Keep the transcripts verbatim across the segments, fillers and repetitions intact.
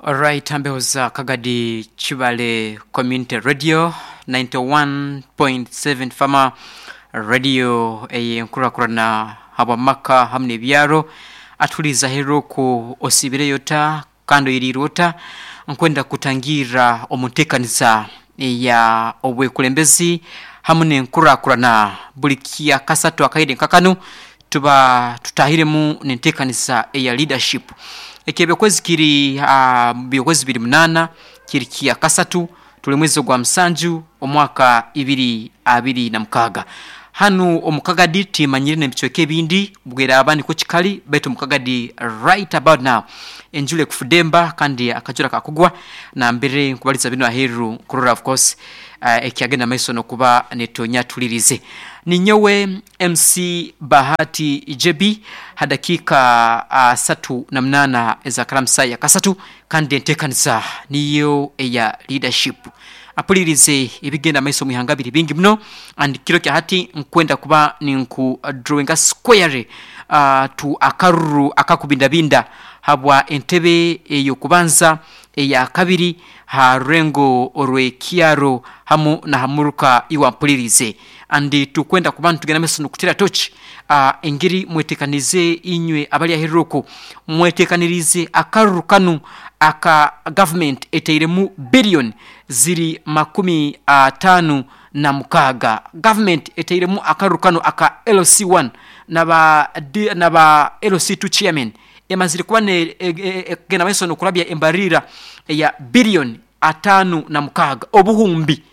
Alright, ambeho za Kagadi Chibale Community Radio ninety-one point seven Fama Radio eyenkurakurana habwamaka hamwe n'ebyaro atuliza heroku osibireyo ta kandi oyirirwe ota. Nkwenda kutangira omu nteekaniza eya obwekulembezi hamwe n'enkurakurana. Buli kya kasatu akaire nkakanu tuba tutahiremu n'enteekaniza eya leadership. Ekyo kiri uh, byokwezi biri munana, kiri kya kasatu, tuli mwezi gwa musanju omwaka ibiri abiri na mukaga. Hanu omukagadi timanyire n'ebicweka ebindi bweraba niko kikali, baitu omukagadi right about now enjura ekufudemba kandi akajura kakugwa. Nambere nkubaliza bino aheru kurora of course uh, ekyagenda maiso nokuba netonya. Tulirize, ninyowe M C Bahati J B, hadakiika uh, satu na munana ezakaramsa ya kasatu, kandi enteekaniza niyo eya leadership. Apulirize, ebigenda maiso mwihanga biri bingi muno, and kiro kya hati nkwenda kuba ninku drawinga square uh, tu akaruru akakubindabinda habwa entebe eyokubanza, eya kabiri, ha rurengo orw'ekyaro hamu na hamuruka iwampulirize. And tukwenda kuba nitugenda maiso nokutera tochi uh, engeri mwetekanize. Inywe abali aheruku mwetekanirize akaruru kanu aka government eteiremu billion ziri makumi atano na mukaaga. Government eteiremu akaruru kanu aka L C one naba, naba L C two chairman, emazire kuba egenda maiso nokurabya embarira eya billion atano na mukaaga, obuhumbi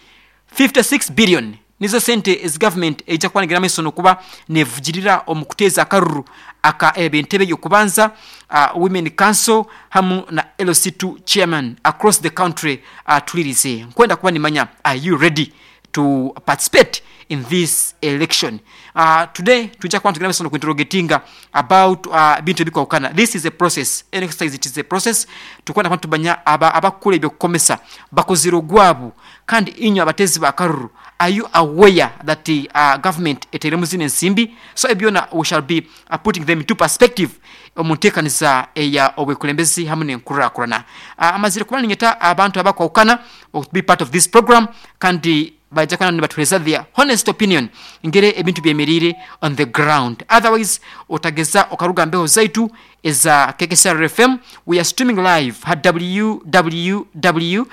fifty-six billion nizo sente ezi government eija kuba nigenda maiso nokuba nevugirira omu kuteeza akaruru aka ebentebe yokubanza, uh, women council hamu na L C two chairman across the country. uh, tulirize nkwenda kuba nimanya, are you ready to participate in this election? uh, today tujja kuba tugenda maiso nokuinterrogatinga about uh, bintu ebikwawukana. This is a process, an exercise, it is a process. Tukwenda kuba tubanya aba abakukula ebyokukomesa bakozire ogwabu. Kandi inywe abatezi bakaruru, are you aware that the uh, government eteremu zino ensimbi? So ebyona we shall be uh, putting them into perspective omu nteekaniza eya obwekulembezi hamwe n'enkurakurana. uh, amazire kuba ninyeta abantu abakwawukana to be part of this program, kandi baija kuba nibatuhereza their honest opinion ngere ebintu byemerire on the ground. Otherwise otageza okaruga mbeho zaitu eza K K C R F M. We are streaming live at w w w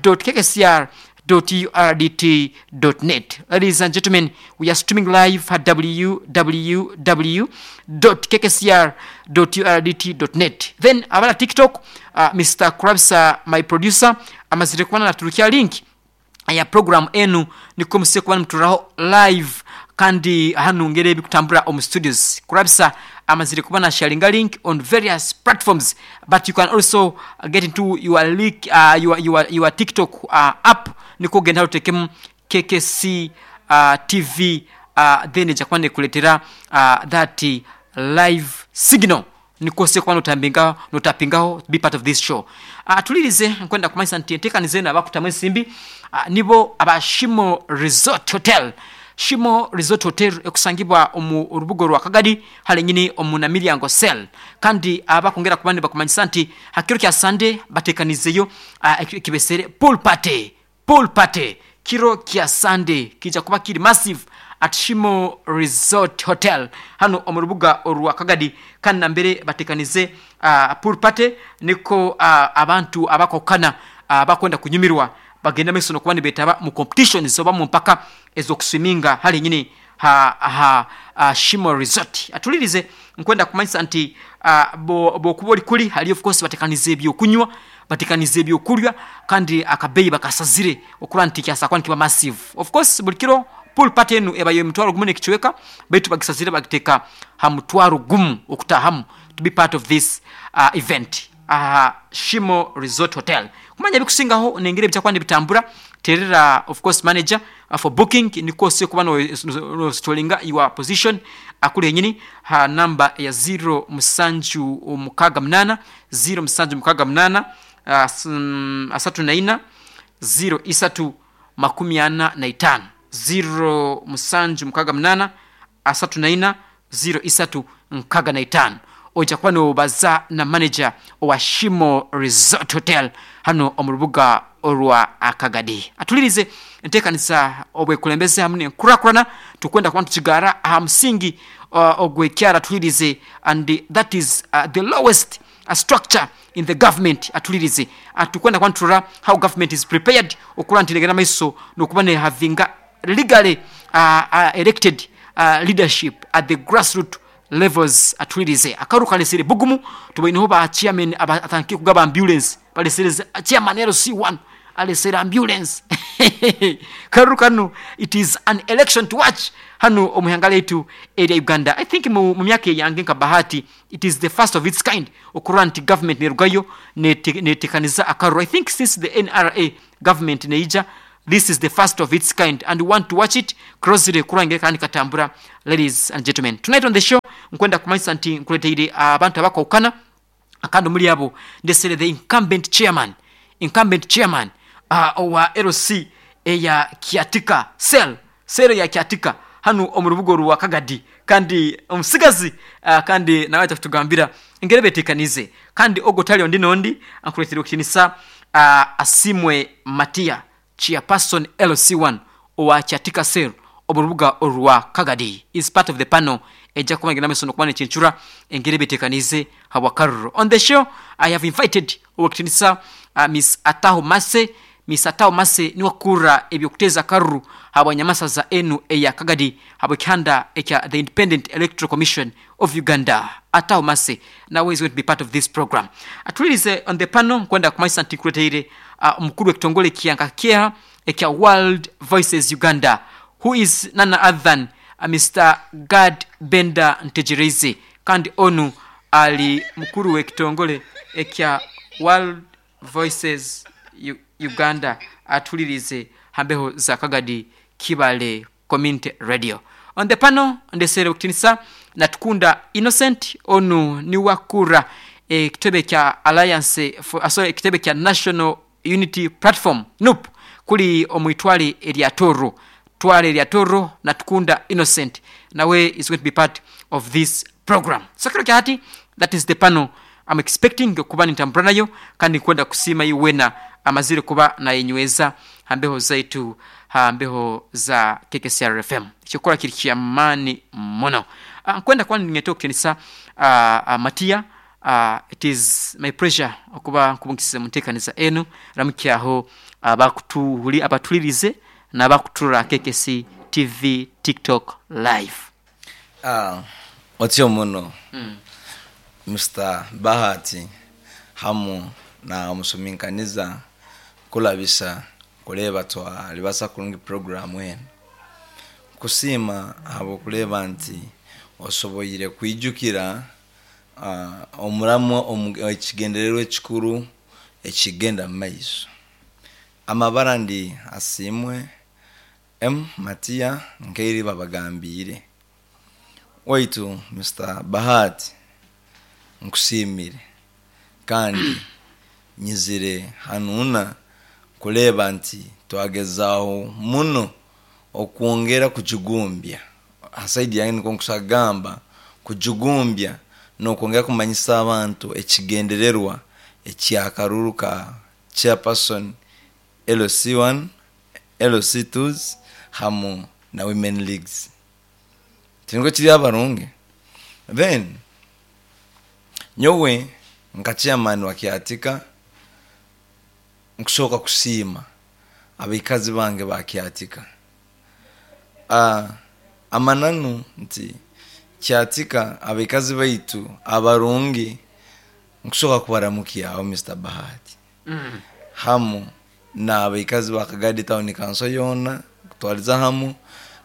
dot k k c r dot u r d t dot net. Ladies and gentlemen, we are streaming live at w w w dot k k c r dot u r d t dot net. Then abala TikTok, uh, Mister Krabsa, my producer, amazire kubana naturukia link ya program enu, niko muse kuba nimuturaho live kandi hanu ngere ebikutambura omu studios. Kurabisa amazire kuba na sharinga link on various platforms, but you can also get into your link, uh, your, your, your TikTok uh, app, niko genda utekemu K K C uh, T V, uh, then ejja kuba nekuletera uh, that live signal, niko se kuba notambingaho, notapingaho, be part of this show. uh, tulirize nkwenda kumanyisa nti enteekaniza eno abakutamu ensimbi uh, nibo aba Shimo Resort Hotel. Shimo Resort Hotel ekusangibwa omu rubuga rwa Kagadi hali nyini omu Namilyango cell. Kandi abakwongera kuba nibakumanyisa nti hakiro kya Sunday batekanizeyo uh, ekibesere pool party. Pool party kiro kya Sunday kija kuba kiri massive at Shimo Resort Hotel hano omu rubuga orwa Kagadi. Kandi nambere batekanize uh, pool party, niko uh, abantu abakokana uh, bakwenda kunyumirwa bagenda maiso nokuba nibetaba mu competitions oba mu mpaka ez'okuswiminga hali nyini ha, ha, uh, Shimo Resort. Atulirize, nkwenda kumanyisa nti uh, bo- bokuba oli kuli hali, of course batekanize ebyokunywa, batekanize ebyokulya, kandi akabeyi bakasazire okura nti kyasakwa nikiba massive. Of course buli kiro pool party enu ebayo emitwaro gumu n'ekicweka, baitu bagisazire bagiteeka ha mutwaro gumu okutahamu to be part of this uh, event, uh, Shimo Resort Hotel. Kumanya ebikusingaho nengeri ebyakuba nibitambura, terera of course manager uh, for booking, niko ose kuba nostolinga your position akuli henyini ha namba ya zero musanju mukaga munana, zero musanju mukaga munana, uh, s- mm, asatu na ina, zero isatu makumi ana na itano, zero musanju mukaga munana asatu na ina zero isatu nkaga na itano. Oja kuba nobaza na manager owa Shimo Resort Hotel hano omu rubuga orwa Akagadi. Atulirize enteekanisa obwekulembeze hamu n'enkurakurana tukwenda kuba nitukigaara aha musingi uh, ogw'ekyaro atulirize, and that is uh, the lowest uh, structure in the government. Atulirize tukwenda kuba niturora how government is prepared okura nti negenda maiso n'okuba nehavinga legally uh, uh, elected uh, leadership at the grassroot levels. Atulirize akaru kalesere bugumu tubaineho ba chairman abatandikire kugaba ambulance, balesere chairman L C one alesere ambulance. Karu kanu, it is an election to watch hano omuhanga letu area Uganda. I think mu myaka yange nka Bahati, it is the first of its kind okura nti government nerugayo netekaniza akaru. I think since the N R A government neija, this is the first of its kind, and we want to watch it closely kurangira kandi katambura. Ladies and gentlemen, tonight on the show nkwenda kumanyisa nti nkuleteire abantu abakawukana akandi muri abo ndesere the incumbent chairman incumbent chairman uh, owa L C eya Kiatika cell cell ya Kiatika hano omu rubuga rwa Kagadi, kandi omusigazi uh, kandi nawe atakutugambira engere betekanize kandi ogo tali ondi nondi ankuletere okutinisa uh, Asimwe Matia, chairperson L C one owa Kiatika cell omu rubuga rwa Kagadi, is part of the panel ejja kuba ngenda mesono kumana chinchura engere betekanize habwakaruro. On the show I have invited owakitinisa uh, Miss Ataho Mase. Miss Ataho Mase ni wakura ebyokuteza karuru habwanyamasaza enu eya Kagadi habwekihanda ekya the Independent Electoral Commission of Uganda. Ataho Mase now is going to be part of this program. Atulirize on the panel kwenda kumanyisa nti kuleteire uh, mukuru w'ekitongole kyanka kyeha ekya World Voices Uganda, who is none other than uh, Mister Gad Benda Ntegereze, kandi onu ali mukuru w'ekitongole ekya World Voices U Uganda. Atulirize hambeho za Kagadi Kibale Community Radio. On the panel ndesere okutinisa Natukunda Innocent, onu ni wakura ekitebe kya Alliance for, sorry, ekitebe kya National Unity Platform N U P kuli omwitwale erya Toro twale erya Toro. Natukunda Innocent nawe is going to be part of this program. So kiro kyati, that is the panel I'm expecting kuba nitambura nayo kandi kwenda kusima iwena amazire kuba na yenyweza hambeho zaitu hambeho za K K C R F M. Chokora kiri kyamani mono. Uh, kwenda kwa ningeto kutenisa uh, uh, Matia. Uh, it is my pleasure okuba nkubungisize mutekanisa enu ramukyaho abakutuhuli uh, abatulirize n'abakutura K K C T V TikTok live. Ah, otyo muno. Mm. Mister Bahati hamu na omusuminkaniza kulabisa kuleba twa libasa kulungi program eno kusima abo kuleba nti osoboyire kwijukira uh, omuramu ekigendererwa ekikuru ekigenda mu maiso. Amabara ndi Asimwe M Matia nkeiri babagambire waitu Mister Bahati nkusimire kandi nyizire hanuna kuleba nti twagezaho muno okwongera kujugumbya asaidi yange niko nkusagamba kujugumbya n'okwongera kumanyisa abantu ekigendererwa ekyakaruru ka chairperson L C one L C two hamu na women leagues tingo kiri abarungi. Then nyowe nka chairman wa Kiatika nkusooka kusiima abikazi bange ba Kiatika. Ah, amananu nti Kiatika abikazi baitu abarungi nkusooka kubaramukia aho Mister Bahati. Mm. Hamu na abikazi ba Kagadi Town Council yona kutwaliza hamu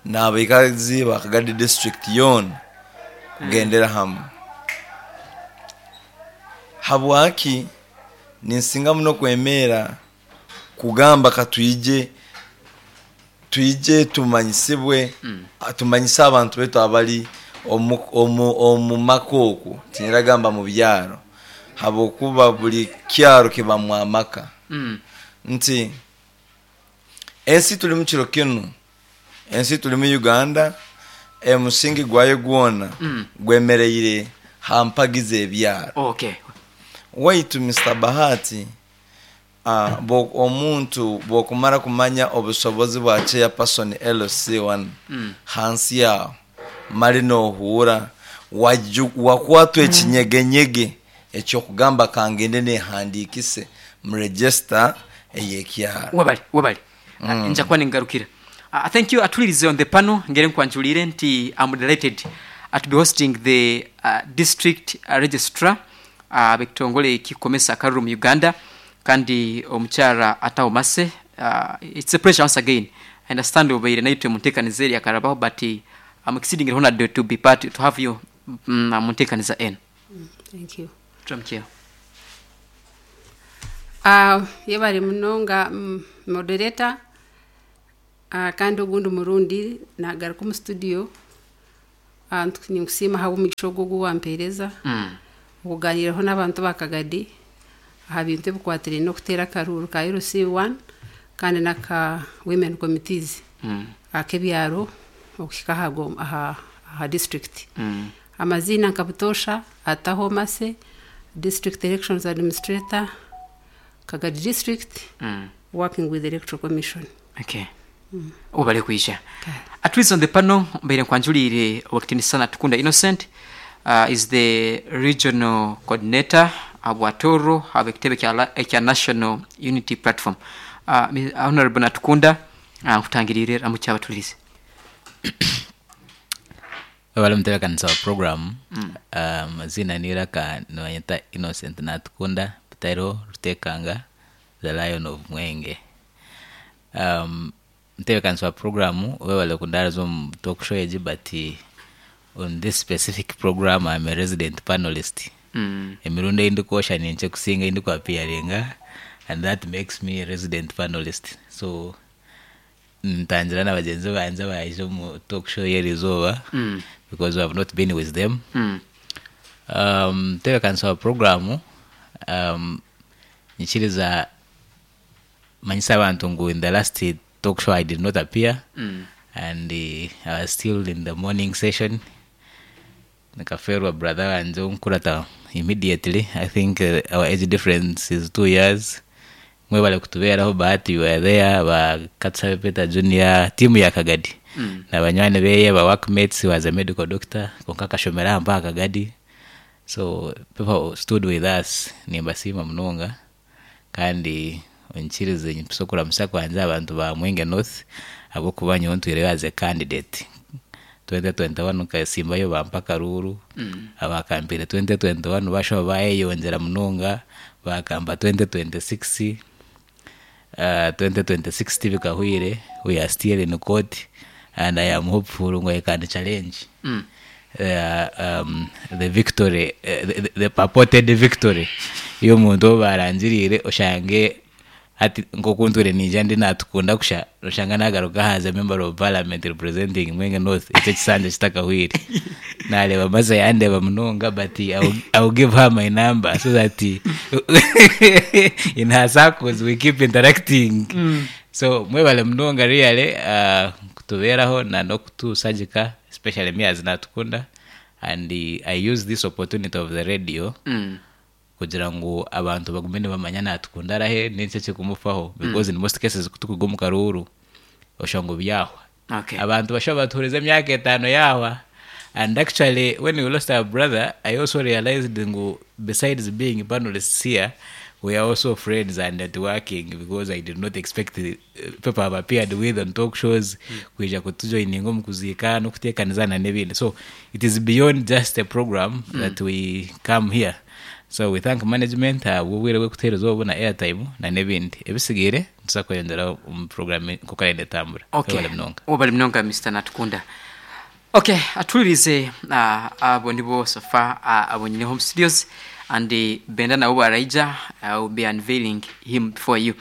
na abikazi ba Kagadi District yona kugendera mm. hamu. Habwaki ninsinga muno kwemera kugamba katuyije tuyije tumanyisibwe mm. tumanyisa abantu betu abali omu omu omu makoko tiniragamba mu byaro habokuba buli kyaro kiba amaka mm. nti ensi tuli mu kiro kino ensi tuli mu Uganda emusingi gwayo gwona mm. gwemereire Ha mpagi z'ebyaro. Okay. Waitu Mister Bahati, uh, bo, omuntu bwokumara kumanya obusobozi bwa chairperson L C one Mm. hansi yaho mali nohuura waju- wakwatwa ekinyegenyege ekyokugamba kangende nehandikise mu register ey'ekyaro. Wabali wabali mm. Nja kuba ningarukira. uh, thank you. Atulirize on the panel, ngere nkwanjulire nti I'm delighted uh, to be hosting the uh, district uh, registrar uh, bekitongole kikomesa akaruru mu Uganda, kandi omukyara Ataho Mase. uh, it's a pleasure once again. I understand obaire naitwe munteekaniza eri akarabaho, but uh, I'm exceedingly honored to be part, to have you mm, munteekaniza eno. Thank you. Turamukyeho. Uh, yebale munonga, mm, moderator. uh, kandi ogundi murundi nagaruka omu studio. uh, ninkusiima ahabw'omugisha ogu ogu wampeereza mm. okuganiraho n'abantu bakagadi aha bintu ebikwatiraine n'okuteera akaruuru ka L C one kandi n'aka women committees Mm. ak'ebyaro okuhika aha, go- aha, aha district. Mm. Amaziina nka butoosha, Ataho Mase, district elections administrator, Kagadi District, Mm. working with the Electoral Commission. Okay, ubale kwisha. At least on the panel, mbaire nkwanjulire Owekitiinisa Tukunda Innocent, uh, is the regional coordinator abwatoro abekitebe kya, la- ekya National Unity Platform. uh, Mi- honorable Natukunda, uh, nkutangirire ramukyabatulirize. Wabale mutebekanisa wa program. Amazina um, niraka niwanyeta Innocent Natukunda Pitairo Rutekanga, the Lion of Mwenge. um, mutebekanisa wa program, webale kundaraza omu talk show egi, but on this specific program I'm a resident panelist. mm. Emirundi ei ndikwosha ninkye kusinga ei ndikwapiyaringa, and that makes me a resident panelist. So ntangira na bagenzi banje abaije omu talk show y'erizooba Mm. because we have not been with them. Mm. um, tebekanisa wa programu, um, nyikiriza manyisa abantu ngu in the last talk show I did not appear Mm. and uh, I was still in the morning session. Nikaferwa brother wanje onkurata immediately. I think uh, our age difference is two years. Mwebale kutubeeraho, Bahati, you were there, ba Katsabe Peter Junior, timu ya Kagadi Mm. na banywani beye, ba workmates. Was a medical doctor konka akashomera aha mpaka Kagadi, so people stood with us. Nimbasiima munonga kandi onkirize mpise okuramusa kwanje abantu ba Mwenge North ahabwokuba nyowe ntwireyo as a candidate twenty twenty-one, nkasimbayo bampa akaruuru mm. Abakampire twenty twenty-one bashoba bayeyongyera munonga, bakamba twenty twenty-six. uh, twenty twenty-six tibikahwire. We are still in court and I am hopeful ngu I can challenge Mm. uh, um, the victory, uh, the, the purported victory y'omuntu ou barangiriire. Oshange hati nkokunture ninja ndi Natukunda kusha oshanga nagaruka haza member of parliament representing Mwenge North. Ekyo kisanja kitakahwire. Nareba maze yandeba munonga, but I will, I will give her my number so that in her circles we keep interacting mm. So mwebale munonga really uh, kutubeeraho na nokutusagika, especially me as Natukunda, and uh, I use this opportunity of the radio Mm. kugira ngu abantu bagume nibamanya Natukunda arahe n'enki ekikumufaho, because in most cases kutukuga omu karuuru oshanga byahwa. Okay. Abantu bashobora batuhuriza emyaka etaano yahwa. And actually, when we lost our brother, I also realized ngu besides being panelists here, we are also friends and networking, because I did not expect uh, people have appeared with on talk shows kwija kutujoininga omu kuziika n'okuteekanizana n'ebindi. So it is beyond just a program that we come here. So we thank management ahabw'obwire bw'okutuheereza obu na airtime na n'ebindi ebisigaire nituza kweyongyera omu program nkoku arenda etambura. Okay. Webale munonga. Webale munonga, Mister Natukunda. Okay, atulirize, uh, abo nibo so far uh, abo nyine home studios, and uh, Benda nabo baraija. I will be unveiling him before you.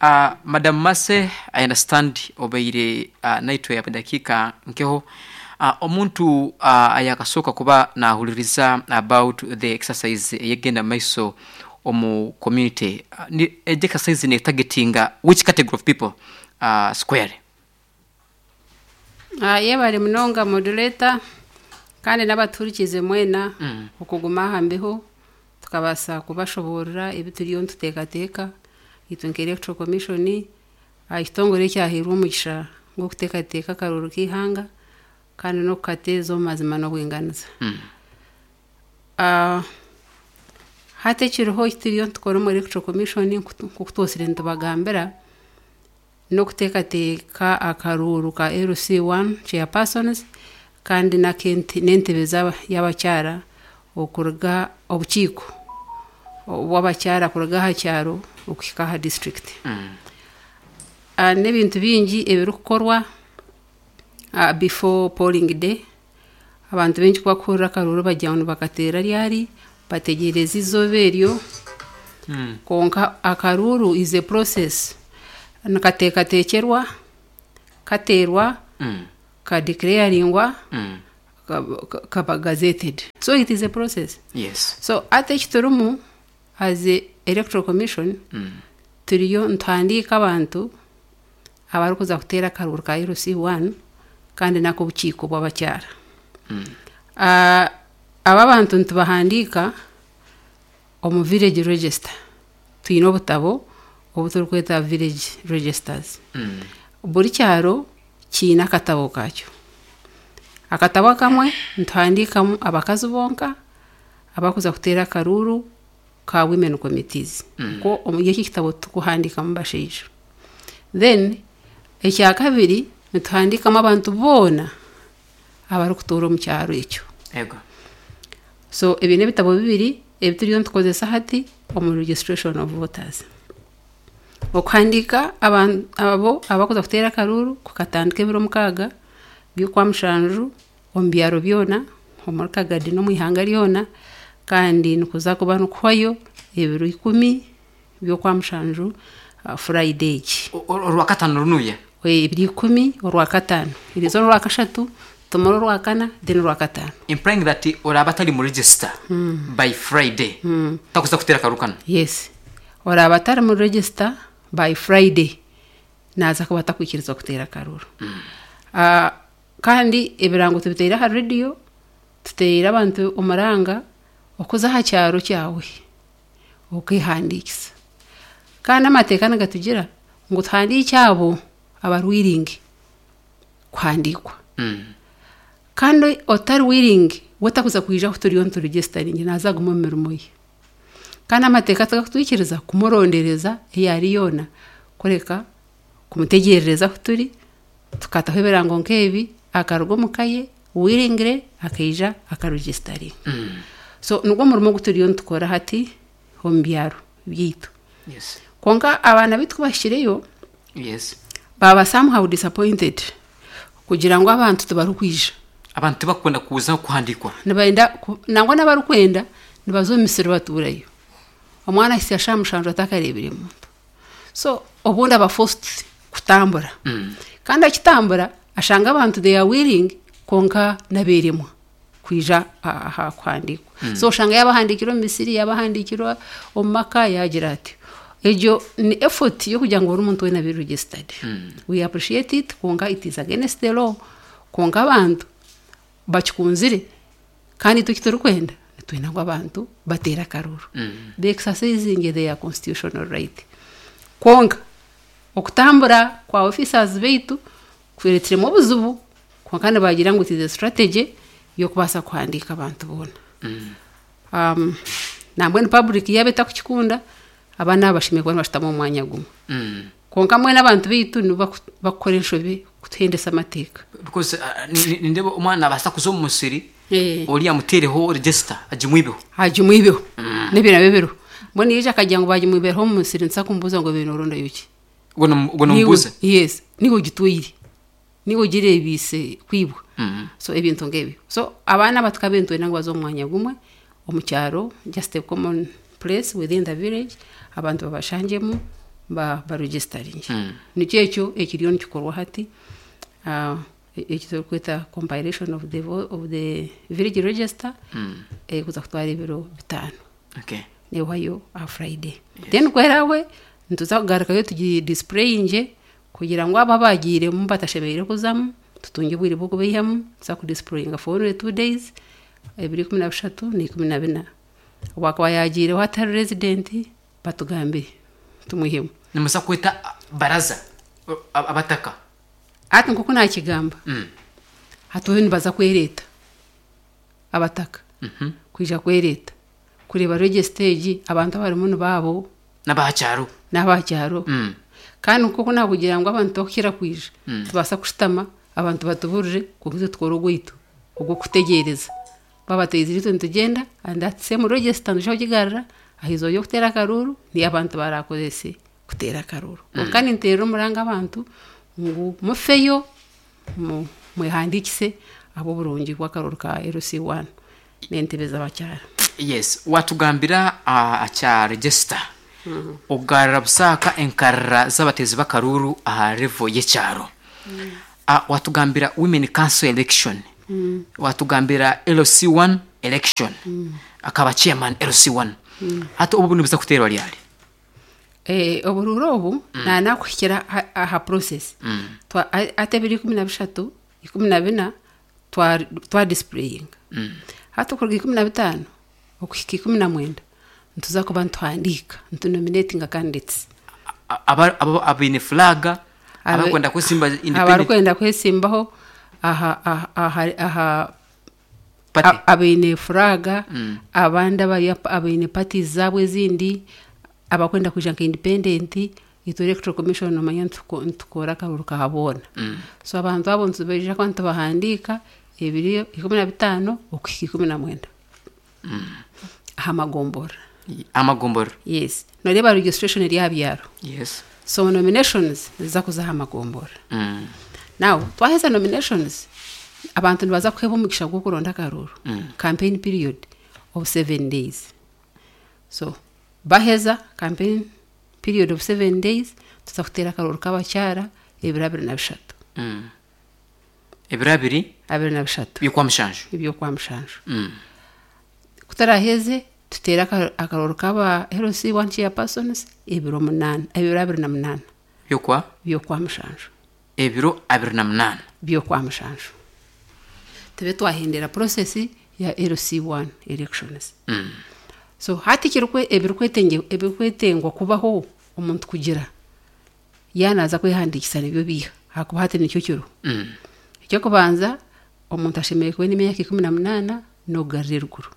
uh, madam Mase, I understand obaire uh, naitwe ya dakika nkeho. uh, omuntu uh, ayakasooka kuba nahuliriza about the exercise eyegenda maiso omu community, uh, ni- egi exercise ne targetinga which category of people uh, square? Ah, yebale munonga, moderator. Kandi n'abaturikize mwena Mm. okuguma aha mbeho tukabaasa kubashoboorora ebi turiyo nituteekateeka itwe nka electoral commission aha kitongore ekyahairwe omugisha gw'okuteekateeka akaruuru k'eihanga kandi n'okukateeza omu mazima n'obwinganiza. Mm. Ah, hati ekiriho ekituriyo nitukora omu electoral commission nk'oku twosire nitubagambira n'okuteekateeka akaruuru ka L C one chairpersons kandi n'ak'ente- n'entebe z'aba- y'abakyara okuruga obukiiko bw'abakyara kuruga aha kyaro okuhika aha district. Mm. Ah, n'ebintu bingi ebirikukorwa ah, before polling day. Abantu baingi kubakuhurira akaruuru bagira ngu nibakateera ryari, bategereza izooba eryo. Mm. Konka akaruuru is a process, nikateekateekyerwa, kateerwa, Mm. kadeclaringwa, Mm. ka- kaba gazetted, so it is a process. Yes. So ate ekiturimu as a electoral commission, Mm. turiyo nituhandiika abantu abarikuza kuteera akaruuru ka L C one kandi n'ak'obukiiko bw'abakyara. Mm. Ah, aba bantu nitubahandiika omu village register. Twine obutabo obu turikweta village registers. Mm. Buri kyaro kiine akatabo kakyo. Akatabo akamwe nituhandiikamu abakazi bonka abakuza kuteera akaruuru ka women committees. Mm. Ko omuri eki kitabo tukuhandiikamu bashaija. Then ekya kabiri nituhandiikamu abantu boona abarikutuura omu kyaro ekyo. Ego. So ebi n'ebitabo bibiri ebi turiyo nitukozesa hati omu registration of voters. Okuhandiika aban- abo abakuza kuteera akaruuru kukatandika ebiro mukaaga by'okwa mushanju omu byaro byona omuri Kagadi n'omu ihanga ryona, kandi nikuza kuba nikuhwayo ebiro ikumi by'okwa mushanju, uh, Friday egi. O- o- orwakatano runuya. Ebiro ikumi, orwakataano, eriizooba orwakashatu, tumare orwakana, then orwakataano. Implying that oraba atari mu register by Friday takuza kuteera akaruuru kano. Yes, oraaba atari mu register by Friday naaza kuba atakwikirizwa kuteera akaruuru. Ah, kandi ebirango tubiteire aha rediyo, tuteire abantu omuranga okuza aha kyaro kyawe okehandiikisa. Kandi amateeka nigatugira ngu tuhandiike abo abari willing kuhandiikwa. Mm. Kandi otari willing we takuza kwija ahu turiyo nituregisteringi, naaza aguma omu mirimo ye. Kandi amateeka tigakutwikiriza kumurondereza ei ari yoona, kureka kumutegerereza ahu turi tukataho ebirango nk'ebi, akaruga omu ka ye willingly akaija akaregisteringa. Mm. So nigwo murimo ogu turiyo nitukora hati omu byaro byaitu. Yes. Konka abaana baitu kubashikireyo, Yes. baba somehow disappointed kugira ngu abantu tibarikwija. Abantu tibakunda kuza kuhandikwa. Nibenda ku- nangwa n'abarikwenda nibaza omu misiri batuurayo, omwana ahitsya shaaha mushanju atakareebire muntu. So obundi aba forced kutambura. Mm. Kandi akitambura ashanga abantu they are willing, konka nabeeremwa kwija aha kuhandiikwa. So oshanga yabahandiikirwe omu misiri, yabahandiikirwa omu maka, yagira ati egyo ni effort y'okugira ngu buri muntu weena abe registered. We appreciate it, konka it is against the law. Konka abantu bakikunzire, kandi itwe ekiturikwenda nitwenda ngu abantu bateere akaruuru, Mm. they exercising their constitutional right. Konka okutambura kwa officers baitu kureetiremu obuzibu, konka nibagira ngu it is a strategy y'okubaasa kuhandiika abantu boona. Mm. um, nambwenu public yaaba etakukikunda, abaana aba bashemereire kuba nibashutama omu mwanya gumwe. Mm. Konka mbwenu abantu baitu nibo baku- bakukora enshobe kutuhendesa amateeka. Because uh, ni- ni- nindeba omwana abasa kuza omu musiri, Eh. ori amutereho register agimwibeho. Hagimwibeho, n'ebyo nabyo biriho. Mbwenu yaija akagira ngu bagimwibereho omu musiri, nsa kumubuuza ngo bine orondayo ki? Ubwo nomubuuza. Yes, niwe ogitwire, niwe ogireebiise kwibwa. Mm. So ebintu nk'ebyo. So abaana batukabe nitwenda ngu baze omu mwanya gumwe omu kyaro, just a common place within the village, abantu babashangyemu ba baregisteringe. Mm. Nikyo ekyo ekiriyo nikikorwa hati, uh, eki turikweta compilation of the, vo- of the village register. Mm. eh, kuza kutwara ebiro bitaano. Okay. Nehwayo aha Friday. Then kwerawe nituza kugarukayo tugi displayinge kugira ngu abo abagiiremu batashemereire kuzamu. Tutunge obwire bw'okubaihamu tuza kudisplayinga for only two days ebiro ikumi na bishatu n'ikumi na bina. Owaakuba yaagiireho atari resident batugambire tumwihemu. Nimuza kweta baraza a- abataka. Hati nk'oku naakigamba Mm. hati bo nibaza kwereeta abataka Mhm. kwija kwereeta kureeba register egi abantu abarimu nibaabo n'abahakyaro n'abakyaro Mm. kandi nk'oku naakugira ngu abantu bakukira kwija Mm. tubaasa kushutama abantu batuburire kwonka itwe tukore ogwaitu ogw'okutegyereza babateizire itwe nitugyenda and that same register nituja kugigarura aha izooba ry'okuteera akaruuru niyo abantu barakozese kuteera akaruuru kwonka ninteerera omuranga abantu ngu mufeyo mu- mwehandiikise ahabw'oburungi bw'akaruuru ka LC one n'entebe z'abakyara yes watugambira uh, akya register ogarra busaaka enkarra z'abateezi b'akaruuru aha level y'ekyaro uh, watugambira women council election watugambira LC one election akaba chairman LC one hati obu nibuza kuteerwa ryari Eh, oburuuru obu nanakuhikira aha- aha process Twa- a- ati ebiro ikumi na bishatu ikumi na bina twa twa displayinga hati okuruga ikumi na bitaano okuhika ikumi na mwenda nituza kuba nituhandiika nitunominatinga candidates A- aba- aba- abaine flaga Abe- abakwenda kwesimba independent abarikwenda kwesimbaho aha aha aha aha party a- abaine furaga abandi abari abaine parties zaabo ezindi abakwenda kwija nka independent itwe electoral commission omanya nituko- nitukora akaruru ka boona so abantu abo nitubaija kuba nitubahandiika ebiri ikumi na bitaano okuhika ikumi na mwenda aha magombora amagomboro yes noreeba registration eri aha byaro yes so nominations niziza kuza aha magombora mm. now twaheza nominations abantu nibaza kuheebwa omugisha gw'okuronda akaruuru campaign period of seven days so baheza campaign period of seven days tuza kuteera akaruuru k'abakyara ebiro abiri na bishatu Mm. ebiro abiri abiri na bishatu by'okwa mushanju eby'okwa mushanju Mm. kutaraheze tuteere aka- akaruuru k'aba LC one chairpersons ebiro munaana ebiro abiri na munaana by'okwa by'okwa mushanju ebiro abiri na munaana by'okwa mushanju tube twahendera process ya LC one elections Mm. so hati ekirikwe- ebirikwetenge- ebirikwetengwa kubaho omuntu kugira yanaza kwehandiikisa nibyo biiha ahakuba hati nikyo kiriho Mm. ekyokubanza omuntu ashemereire kuba n'emyaka ikumi na munaana n'okugarura eruguru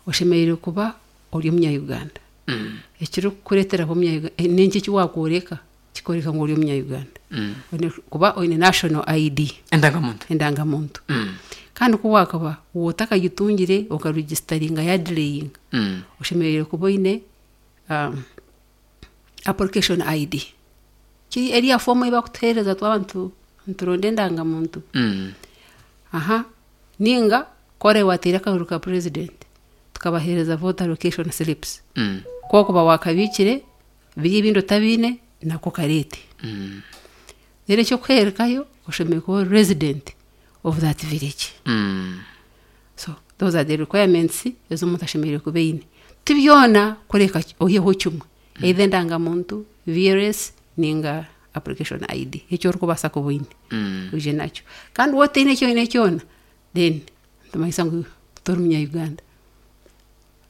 oshemereire kuba ori omunya-uganda Mm. ekirikukureetera kuba omunya n'enki eki wakworeka kikworeka ngu ori omunya-uganda Mm. Oine kuba oine national ID endangamuntu endangamuntu Mm. kandi ku wakaba wotakagitungire okaregisitaringa yadelayinga Mm. oshemereire kuba oine um, application ID kiri eriya fomu ei bakutuheereza twaba nitu- nituronda endangamuntu Mm. aha ninga kore wateire akaruru ka president tukabaheereza voter location slips Mm. kokuba wakabiikire biri ebindi otabiine nako kareete Mm. rero ekyokuheerekayo oshemereire kuba ori resident of that village Mm. so those are the requirements ez'omuntu ashemereire kuba eine ti byona kureka oiheho kimwe either endangamuntu VLS ninga application ID ekyo orikubaasa kuba oine Mm. oije nakyo kandi wotaine ekyo kyona then nitumanyisa ngu tori munya-uganda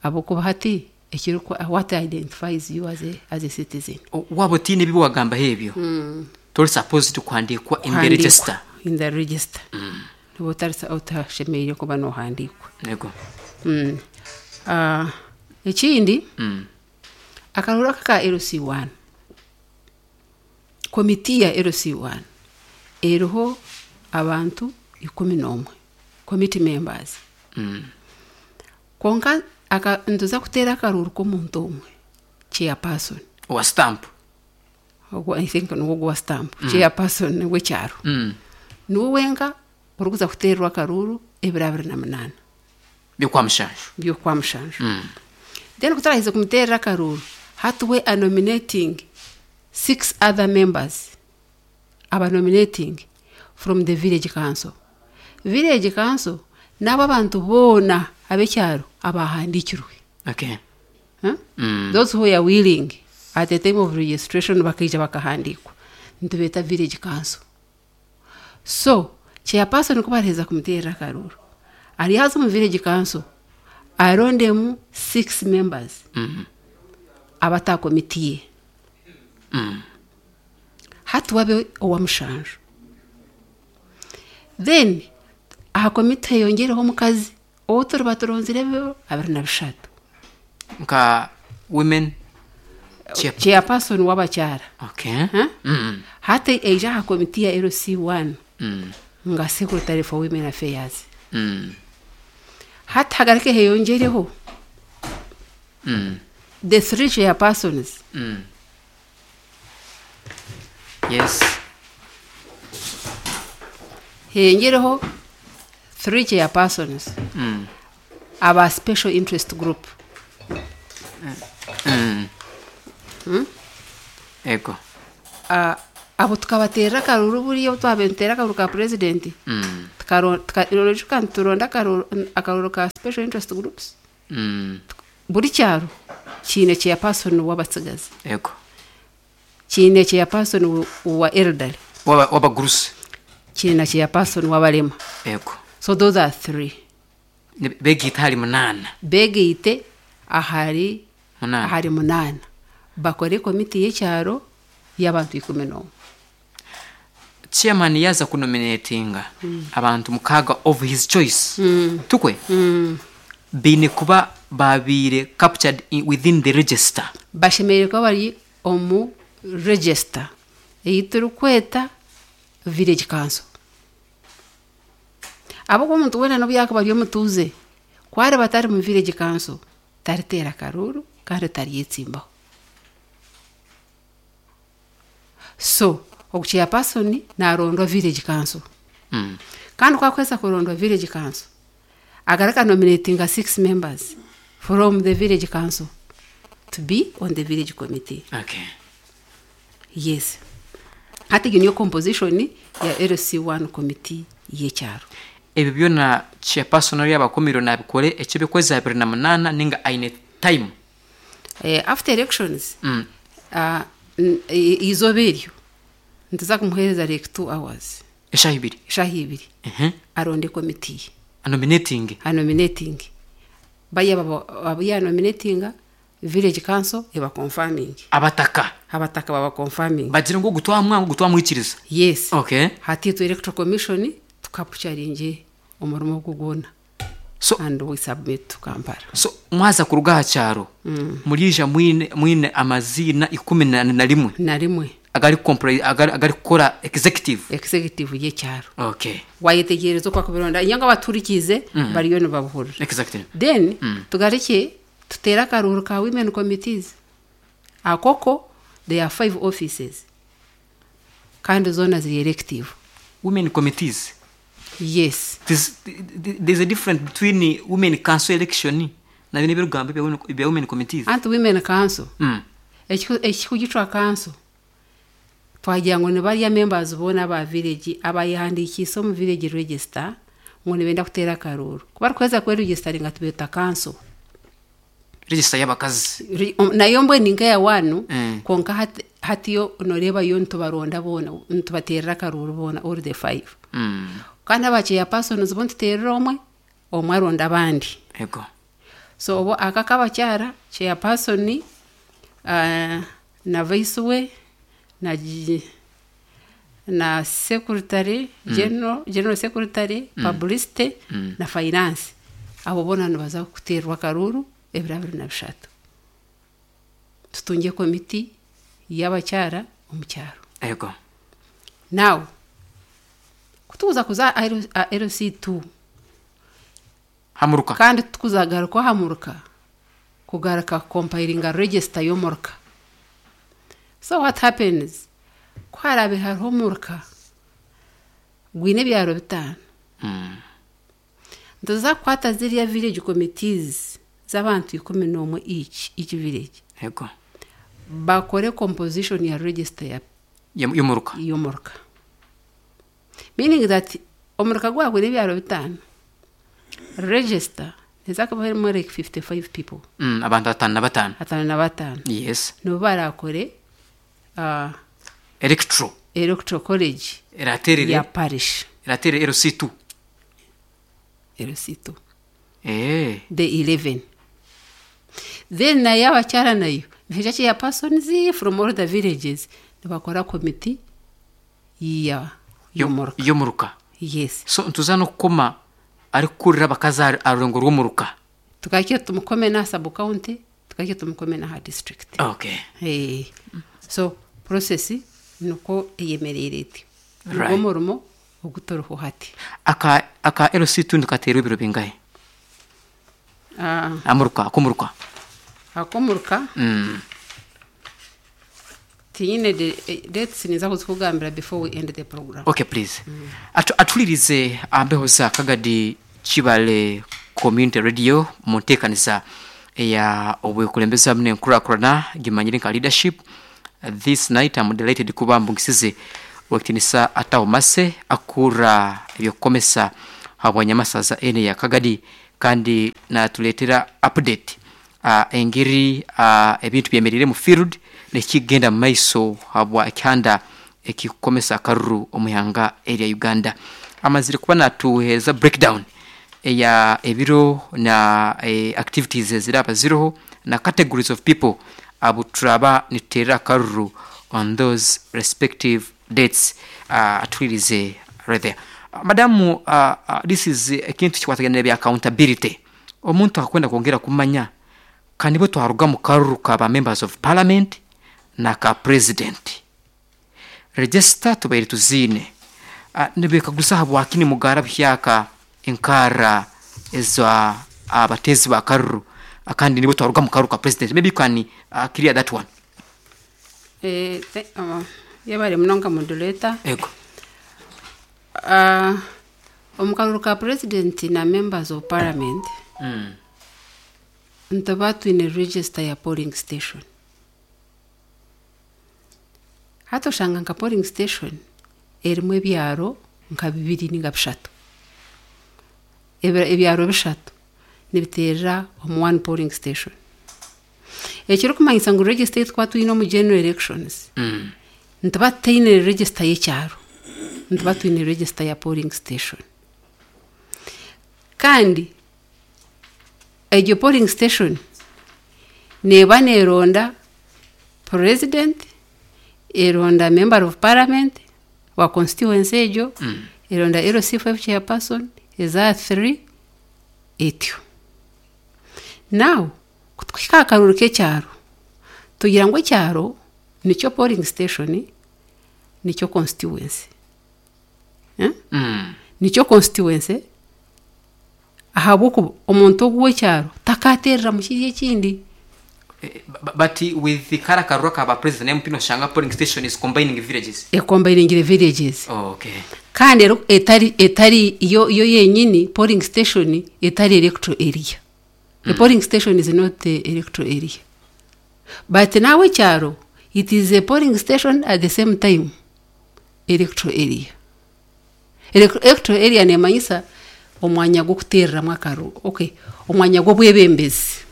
ahabwokuba hati ekiriku what identifies you as a, as a citizen O- waba otiine ebi wagambaho ebyo tori supposed kuhandiikwa in the register in the register niba otari- otashemereire kuba nohandiikwa yego Mm. Ah, ekindi Mm. akaruru aka ka LC one komiti ya LC one eriho abantu ikumi n'omwe committee members Mm. konka aka nituza kuteera akaruru k'omuntu omwe chairperson owa stamp Ogwo I think niwo gwa stamp chairperson w'ekyaro Mm. niwe wenka orikuza kuteerwa akaruru ebiro abiri na munaana by'okwa mushanju by'okwa mushanju Mm. then kutarahize kumuteerera akaruru hati we are nominating six other members aba nominating from the village council village council n'abo abantu boona ab'ekyaro abahandiikirwe okay Huh? Mm. those who are willing at the time of registration bakaija bakahandiikwa nitubeeta village council So chairperson kuba ariheza kumuteerera akaruru, arihaza omu village council arondemu six members Mm. abatakomitiye. Mm. Hati wabe owa mushanju. Then aha komite heyongereho omukazi ou turiba turonzire ebiro abiri na bishatu. Nka women chair. Chairperson w'abakyara. Okay. Huh? Mm. Hati eija aha komiti ya L C one Mm. nga secretary for women affairs. Mm. Hati hagaruke heyongereho Mm. the three chairpersons. Mm. Yes. Heyongereho three chairpersons Mm. aba special interest group. Mm. Ego. uh, abo tukabateerera akaruru buriya obu twabaire nituteera akaruru ka president. Mm. Tukaro- tuka- tuka nituronda akaruru akaruru ka special interest groups. Mm. Buri kyaro kiine chairperson w'abatsigazi, Ego. kiine chairperson wa- wa elderly, Waba wabagurusi. Kiine na chairperson w'abarema. Ego. So those are three. Ne- Begiita hari munana. Begeite ahari Munana. Ahari munana, bakore komiti y'ekyaro y'abantu ikumi n'omwe. Chairman yaza kunominatinga abantu mukaga of his choice. Mm. Tukwe. Mm. Biine kuba babiire captured in, within the register. Bashemereire kuba bari omu register ei turikweta village council, ahabwokuba omuntu weena n'obu yakuba ari omutuuze, ku ariba atari mu village council, tariteera karuru kandi taryetsimbaho. So ogu chairperson narondwa village council. Mm. Kandi ku akuheza kurondwa village council, agaruka nominatinga six members from the village council to be on the village committee. Okay. Yes, hati egyo niyo composition ya L C one committee y'ekyaro. Ebyo byona chairperson ari abakomiro nabikore ekyo by'okwezi abiri na munana ninga aine time? Eh, after elections, Mm. uh, n- i- izooba eryo nituza kumuheereza like two hours. Eshaaha ibiri. Eshaaha ibiri. Mhm. Aronde komiti ye. Anominating. Anominating baya abo yanominatinga, village council eba confirming. Abataka. Abataka baba confirming. Bagira ngu gutwamwanga gutwamwikiriza. Yes. Okay. Hati itwe electoral commission tukapucharinge omurimo ogu gwona So and we submit to Kampala. So mwaza kuruga aha kyaro muriija mwine mwine amaziina ikumi na na rimwe Na rimwe. Agari compri- agari agari kukora executive. Executive y'ekyaro. Okay. Wayetegereza oku akubironda nyanga abaturikize bariyo nibabuhurira. Exactly. Then tugarukye tuteere akaruuru ka women committees. Akoko there are five offices kandi zoona ziri elective. Women committees? Yes. There's, there's a difference between women council election na bino ebirugambo ebya women- ebya women committees. Anti women council, mm. ekiku- ekikugitwa council, twagira ngu nibarya members boona aba village abayehandikiise omu village register ngu nibenda kuteera akaruuru. Ku barikuheza kweregistaringa, tubeeta council. Register y'abakazi. Ri- um, nayo mbwenu nkeya wanu. Mm. Konka hati- hatiyo noreeba yo nitubaronda boona, nitubateerera akaruuru boona, all the five. mm. Kandi aba chairpersons bo nituteerera omwe omwe, aronda abandi. Ego. So obo aka kabakyara, chairperson uh, na vice we na gi- na secretary general, general secretary, publicity na finance, abo boona nibaza kuteerwa akaruuru ebiro abiri na bishatu, tutunge komiti y'abakyara omu kyaro. Ego. Now kutukuza kuza L C two Hamuruka. Kandi tukuzagaruka hamuruka kugaruka compilinga register y'omuruka. So what happens, ku harabe hariho omuruka gwine ebyaro bitaano, mm. nituza kukwata ziriya village committees z'abantu ikumi n'omwe each each village, Ego. bakore composition ya register ya Y'omuruka. Y'omuruka, meaning that omuruka gwagwine ebyaro bitaano, register neza kuba harimu like fifty-five people. mm, abantu batano na batano. Atano na batano. Yes. Nibo barakore uh, electro. Electoral College Eraterere ya parish. Eraterere L C two. L C two. Eh. The eleven. Then nayo abakyara nayo nihaija chairpersons from all the villages nibakora committee ya y'omuruka. Y'omuruka. Yes. So ntuza n'okukoma arikukurira abakazi aha aha rurengo rw'omuruka. Tukakye tumukome na sub county, tukakye tumukome na ha district. Okay. Eh, so process nuko eyemereire eti. Right. Nigwo murimo oguturiho hati. Aka aka L C two nikaterwa ebiro bingahe? Ah, amuruka, ak'omuruka. Akomuruka mm. tinyine de- eh, dates, niza kuzikugambira before we end the program. Okay, please. Atu, atulirize ambeho za Kagadi Kibale Community Radio mu nteekaniza eya obwekulembeze hamwe n'enkurakurana gimanyire nka leadership. This night I'm delighted kuba mbungisize wekitinisa Ataho Mase akura ebyokukomesa habwanyamasaza ene ya Kagadi, kandi natuleetera update uh, engeri uh, ebintu byemerire mu field nekigenda mu maiso habwa ekyanda ekikukomesa akaruru omuhanga erya Uganda. Amazire kuba natuheereza breakdown eya ebiro na eh, activities eziraba ziriho na categories of people abo turaba nituteerera akaruru on those respective dates. uh, atwirize right there. uh, madamu uh, uh, this is ekintu kikwatagana bya accountability. Omuntu akwenda kwongera kumanya kandi bwe twaruga mu karuru ka ba members of parliament na ka president, register tubaire tuziine. uh, nibekaguza habwaki nimugara buhyaka enkara eza abatezi ba karuru, ah, kandi nibo twaruga mu karuru ka president? Maybe you can uh, clear that one. Eh, te- uh, yebare munonga, moderator. Ego. uh, omu karuru ka president na members of parliament mm. nituba twine register ya polling station. Hati oshanga nka polling station erimu ebyaro nka bibiri ninga bishatu. Ebi- ebyaro bishatu nibiteerera omu one polling station, ekirikumanyisa ngu register ei tukuba twine omu general elections Mm. nituba tutaine register y'ekyaro, nituba twine register ya polling station. Kandi egyo polling station neeba neeronda president, eronda member of parliament wa constituency egyo, Mm. eronda L C five chairperson, eza three etyo. Now kutuhika aha karuru k'ekyaro, tugira ngu ekyaro nikyo polling station, nikyo constituency, eh? Mm. Nikyo constituency, ahabw'okuba omuntu ogu w'ekyaro takaterera mu kiri ekindi. Eh, bu- but with the kara karuru ka ba president M P, noshanga polling station is combining villages. Ekombiningira villages. Oh, okay. Kandi ero etari etari yo yo yenyini polling station etari electoral area. The polling station is not the electoral area, but nawe ekyaro it is a polling station, at the same time electoral area. Elec- electoral area nemanyisa omwanya gw'okuteereramu akaruru, okay, omwanya gw'obwebembezi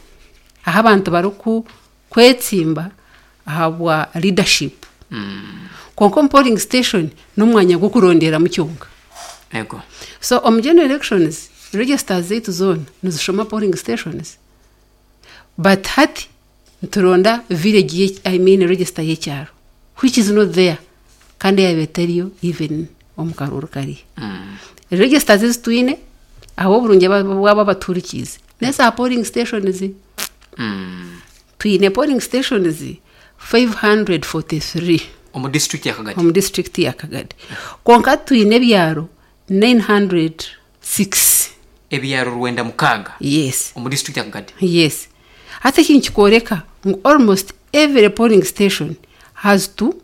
aho abantu bariku kwetsimba ahabwa leadership. Mm. Konka omu polling station n'omwanya gw'okuronderamu kyonka. Ego. So omu general elections registers zaitu zoona nizishoma polling stations, but hati nituronda village ye, I mean register y'ekyaro, which is not there, kandi yaba etariyo even omu karuru kariya. Mm. Registers ezi twine aho oburungi bwabo abaturikiize neza polling stations. Mm. Twine polling stations five hundred forty-three omu district ya Kagadi. Omu district ya Kagadi, konka twine ebyaro nine hundred six. Ebyaro rwenda mukaaga? Yes. Omu district ya Kagadi? Yes. Hati ekintu kikworeka ngu almost every polling station has two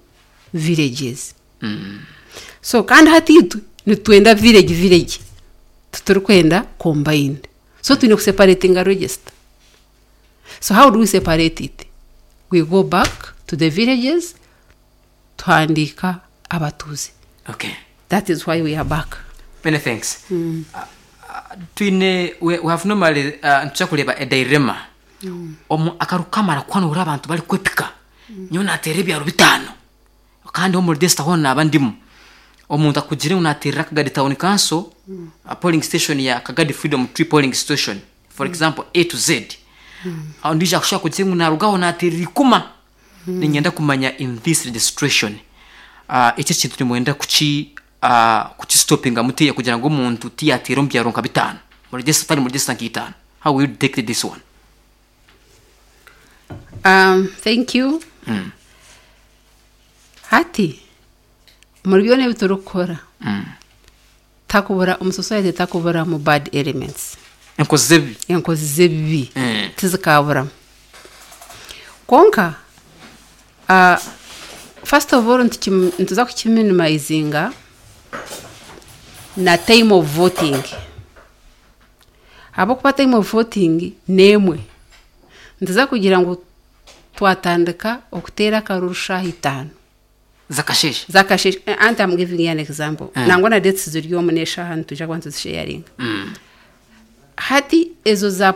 villages. Mm. So kandi hati itwe nitwenda village village, tuturikwenda combined, so twine kuseparatinga register. So how do we separate it? We go back to the villages, tuhandika abatuuzi. Okay. That is why we are back. Many thanks. mm. uh, uh, twine we, we have normally uh, nituja kureba a dilemma mm. Omu akaru kamara kwanura abantu bari kwepika mm. Nyo natera ebyaro bitano. Kandi omu register hoona naaba ndimu. Omuntu akugire ngu naateerera Kagadi Town Council, a polling station ya Kagadi Freedom Tree polling station, for example A to Z. Ondiijo akushobora kugira ngu naarugaho naateerera Ikuma. Niinyenda kumanya in this registration, uh, eki ekintu nimwenda kuki uh, kukistopinga mutiya kugira ngu omuntu tiyateera omu byaro nka bitaano mu register, tari mu register nka itaano. How will you detect this one? Um, thank you. Hati muri byona ebi turikukora, takubura omu society, takubura mu bad elements. Enkozi z'ebibi. Enkozi z'ebibi. Mm. Tizikaburamu. Konka uh, first of all ntukim- nituza kukiminimizinga na time of voting, ahabwokuba time of voting n'emwe. Nituza kugira ngu twatandika okuteera akaruru shaaha itaano zakasheshe. Zakasheshe. Anti I'm giving you an example. Mm. Nangwa na dates ziri omu n'eshaaha nituja kuba nituzisharinga hati ezo za